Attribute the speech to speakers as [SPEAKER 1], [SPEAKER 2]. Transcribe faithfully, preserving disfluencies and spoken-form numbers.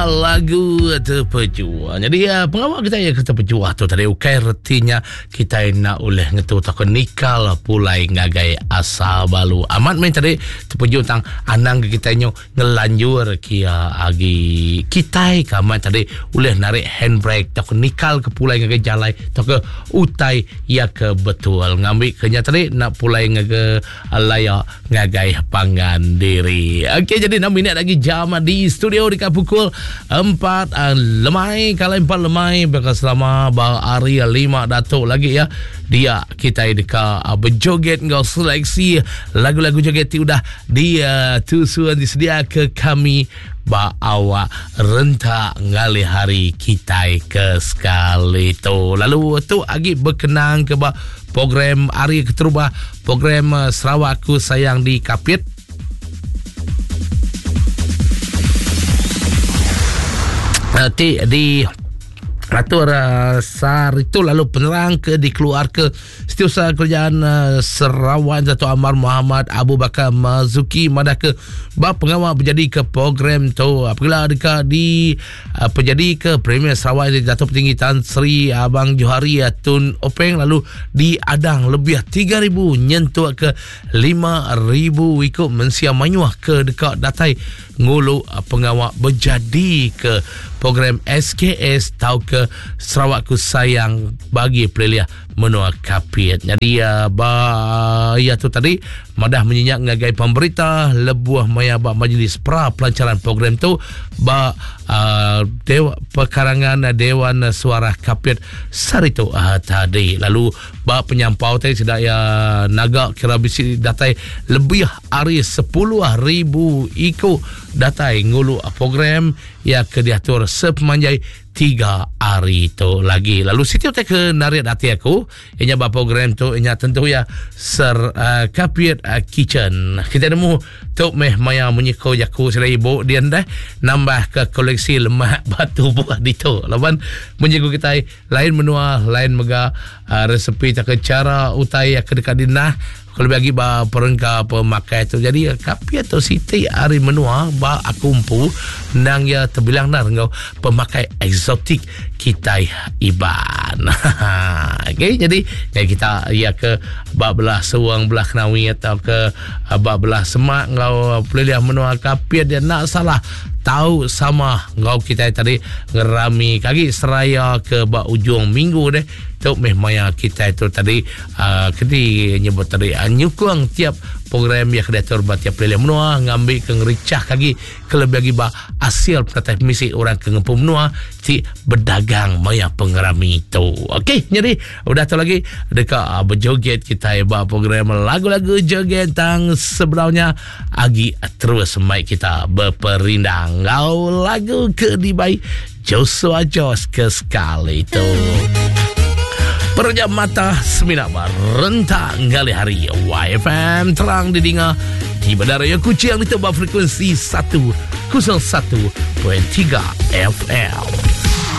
[SPEAKER 1] Lagu terpejuah. Jadi uh, pengawal kita ya kita terpejuah tu tadi ukai retinya kita nak oleh ngetu takut nikal pulai ngagai asal balu. Amat main tadi terpejuah tentang anang kita nyo ngelanjur kia agi kita kamat tadi oleh narik handbrake takut nikal ke pulai ngagai jalai takut utai ya ke betul ngambil kenya tadi nak pulai ngagai layak ngagai pangan diri. Okey, jadi enam minit lagi jam di studio dekat pukul empat uh, lemai. Kalau empat lemai bakal selama hari lima datuk lagi ya. Dia kita dekat uh, berjoget ngau seleksi lagu-lagu joget ti udah dia tusuan disedia ke kami ba awak rentak ngalih hari kita ke sekali tu. Lalu tu agi berkenang ke ba program hari keterubah program uh, Sarawak Aku Sayang di Kapit. Uh, ti di atur uh, sar itu lalu penerang ke dikeluar ke Setiausaha Kerajaan uh, Sarawak Dato' Amar Muhammad Abu Bakar Mazuki madah ke bab pengawal berjadi ke program tu apabila dekat di uh, penjadi ke Premier Sarawak Dato' Petinggi Tan Sri Abang Johari uh, Tun Openg lalu diadang lebih tiga ribu nyentuk ke lima ribu ikut mensia manyuah ke dekat datai ngulu uh, pengawal berjadi ke program S K S tau ke Sarawak Ku Sayang bagi peliliah menua Kapit. Jadi uh, ba ya tu tadi madah menyinyak ngagai pemberita lebuh maya ba majlis pra pelancaran program tu ba uh, dewa, pekarangan Dewan Suara Kapit saritu uh, tadi. Lalu ba penyampau tadi sedak ya naga kira bisi datai lebih hari sepuluh ribu ikut datai ngulu program ya ke diatur sepemanjai tiga hari tu lagi. Lalu situ tak ke narik hati aku ianya ba program tu ianya tentu ya ser uh, Kapit uh, Kitchen. Kita nemu tu meh maya menyiko jaku sila ibu dia dah nambah ke koleksi lemak batu buah ditu. Laban menyiko kita lain menua lain mega uh, resepi tak ke cara utai yang ke dekat dinah kalau bagi ba perengka pemakai tu. Jadi Kapit tu siti hari menua ba aku empu nang ya terbilang nar ngau pemakai eksotik kita Iban. Okey, jadi ya kita ya ke ba belah Suang belah Kenawi atau ke ba belah Semak ngau peliliah menua Kapit dia nak salah tahu sama ngau kita tadi ngerami kaki seraya ke ba ujung minggu deh tu meh maya kita itu tadi uh, kedi nyebut tadi uh, nyukung tiap program yang diatur ba tiap peliliah menua ngambil ke ngericah kaki kelebih lagi ba hasil penatai misi orang ke ngempu menua ti berdagang maya pengerami tu. Okey, jadi udah tu lagi dekat uh, berjoget kita ba program lagu-lagu joget tang sebelumnya agi terus mic kita berperindang ngau lagu ke dibai Joshua Jos ke sekali tu. Perjam mata semina rentak ngali hari Y F M terang didengar di Bandaraya Kuching di tebak frekuensi seratus satu perpuluhan tiga F M.